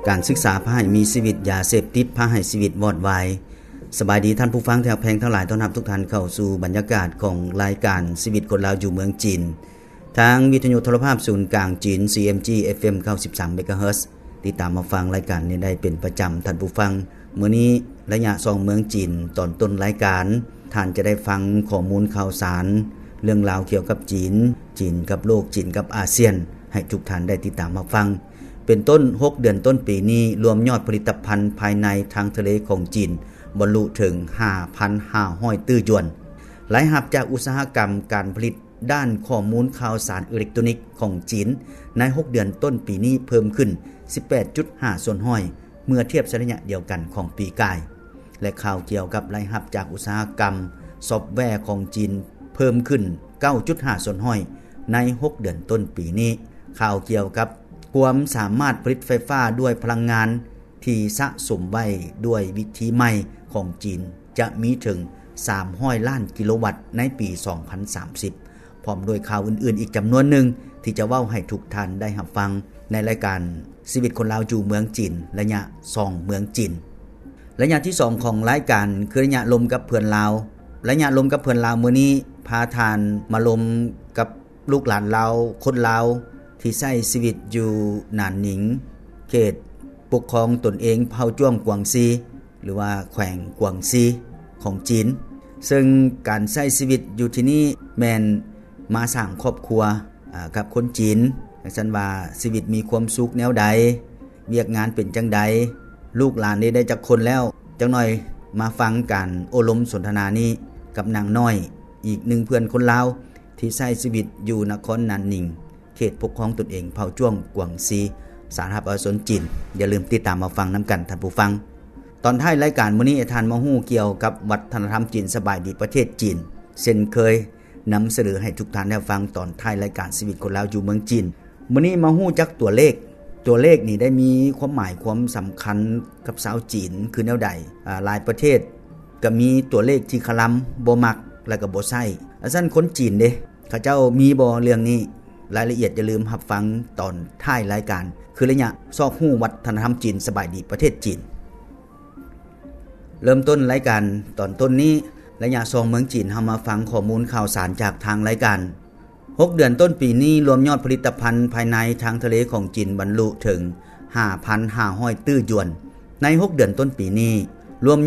ການສຶກສາພາໃຫ້ມີຊີວິດ, ຢາເສບຕິດພາໃຫ້ຊີວິດວອດວາຍ. ສະບາຍດີທ່ານຜູ້ຟັງທີ່ຮັກແພງທັງຫຼາຍ, ຕ້ອນຮັບທຸກທ່ານເຂົ້າສູ່ບັນຍາກາດຂອງລາຍການຊີວິດຄົນລາວຢູ່ເມືອງຈີນ ທາງວິທະຍຸໂທລະພາບສູນກາງຈີນ CMG FM ເກົ້າສິບສາມ MHz. ຕິດຕາມຮັບຟັງລາຍການນີ້ໄດ້ເປັນປະຈຳ, ທ່ານຜູ້ຟັງ. ມື້ນີ້ໄລຍະສ່ອງເມືອງຈີນ, ຕອນຕົ້ນລາຍການ ທ່ານຈະໄດ້ຟັງຂໍ້ມູນຂ່າວສານ ເລື່ອງລາວກ່ຽວກັບຈີນ, ຈີນກັບໂລກ, ຈີນກັບອາຊຽນ ໃຫ້ທຸກທ່ານໄດ້ຕິດຕາມຮັບຟັງ. ເປັນຕົ້ນ, ຫົກເດືອນຕົ້ນປີນີ້, ລວມຍອດຜະລິດຕະພັນພາຍໃນທາງທະເລຂອງຈີນ ບັນລຸເຖິງຫ້າພັນຫ້າຮ້ອຍຕື້ຢວນ. ລາຍຮັບຈາກອຸດສາຫະກຳການຜະລິດດ້ານຂໍ້ມູນຂ່າວສານເອເລັກໂຕຣນິກຂອງຈີນ ໃນຫົກເດືອນຕົ້ນປີນີ້ເພີ່ມຂຶ້ນສິບແປດຈຸດຫ້າສ່ວນຮ້ອຍ ເມື່ອທຽບໃສ່ໄລຍະດຽວກັນຂອງປີກາຍ ແລະ ຂ່າວກ່ຽວກັບລາຍຮັບຈາກອຸດສາຫະກຳຊອບແວຂອງຈີນເພີ່ມຂຶ້ນເກົ້າຈຸດຫ້າສ່ວນຮ້ອຍໃນຫົກເດືອນຕົ້ນປີນີ້. ຂ່າວກ່ຽວກັບຄວາມສາມາດຜະລິດໄຟຟ້າດ້ວຍພະລັງງານທີ່ສະສົມໄວ້ດ້ວຍວິທີໃໝ່ຂອງຈີນ ຈະມີເຖິງສາມຮ້ອຍລ້ານກິໂລວັດໃນປີສອງພັນສາມສິບ ພ້ອມດ້ວຍຂ່າວອື່ນໆອີກຈຳນວນໜຶ່ງ ທີ່ຈະເວົ້າໃຫ້ທຸກທ່ານໄດ້ຮັບຟັງໃນລາຍການຊີວິດຄົນລາວຢູ່ເມືອງຈີນ ໄລຍະສ່ອງເມືອງຈີນ. ໄລຍະທີສອງຂອງລາຍການ ຄືໄລຍະລົມກັບເພື່ອນລາວ. ໄລຍະລົມກັບເພື່ອນລາວມື້ນີ້ ພາທ່ານມາລົມກັບລູກຫຼານລາວ, ຄົນລາວທີ່ໃຊ້ຊີວິດຢູ່ໜານໜິງ, ເຂດປົກຄອງຕົນເອງເຜົ່າຈ້ວງກວາງຊີ ຫຼືວ່າແຂວງກວາງຊີຂອງຈີນ. ເຊິ່ງການໃຊ້ຊີວິດຢູ່ທີ່ນີ້ແມ່ນມາສ້າງຄອບຄົວ ອາ ກັບຄົນຈີນ, ຈັ່ງຊັ້ນວ່າຊີວິດມີຄວາມສຸກແນວໃດ, ວຽກງານເປັນຈັ່ງໃດ, ລູກຫຼານນີ້ໄດ້ຈັກຄົນແລ້ວ? ຈັກໜ່ອຍມາຟັງການໂອ້ລົມສົນທະນານີ້ກັບນາງນ້ອຍ, ອີກໜຶ່ງເພື່ອນຄົນລາວທີ່ໃຊ້ຊີວິດຢູ່ນະຄອນໜານໜິງ, ເຂດປົກຄອງຕົນເອງເຜົ່າຈ້ວງກວາງຊີ, ສາທາລະນະລັດປະຊາຊົນຈີນ. ຢ່າລືມຕິດຕາມມາຟັງນຳກັນ, ທ່ານຜູ້ຟັງ. ຕອນທ້າຍລາຍການມື້ນີ້, ໃຫ້ທ່ານມາຮູ້ກ່ຽວກັບວັດທະນະທຳຈີນສະບາຍດີປະເທດຈີນ ເຊັ່ນເຄີຍ. ນຳສະເໜີໃຫ້ທຸກທ່ານໄດ້ຟັງຕອນທ້າຍລາຍການຊີວິດຄົນລາວຢູ່ເມືອງຈີນ. ມື້ນີ້ມາຮູ້ຈັກຕົວເລກ. ຕົວເລກນີ້ໄດ້ມີຄວາມໝາຍຄວາມສຳຄັນກັບຊາວຈີນຄືແນວໃດ? ອາ, ຫຼາຍປະເທດກໍມີຕົວເລກທີ່ຄະລຳ, ບໍ່ມັກ ແລະກໍບໍ່ໃຊ້. ອາ, ຊັ້ນຄົນຈີນເດ? ເຂົາເຈົ້າມີບໍ່ເລື່ອງນີ້? ລາຍລະອຽດຢ່າລືມຮັບຟັງຕອນທ້າຍລາຍການ ຄືໄລຍະຊອກຮູ້ວັດທະນະທຳຈີນສະບາຍດີປະເທດຈີນ. ເລີ່ມຕົ້ນລາຍການຕອນຕົ້ນນີ້, ໄລຍະສ່ອງເມືອງຈີນ, ເຮົາມາຟັງຂໍ້ມູນຂ່າວສານຈາກທາງລາຍການ. ຫົກເດືອນຕົ້ນປີນີ້, ລວມຍອດຜະລິດຕະພັນພາຍໃນທາງທະເລຂອງຈີນບັນລຸເຖິງຫ້າພັນຫ້າຮ້ອຍຕື້ຢວນ. ໃນຫົກເດືອນຕົ້ນປີນີ້, ລວມ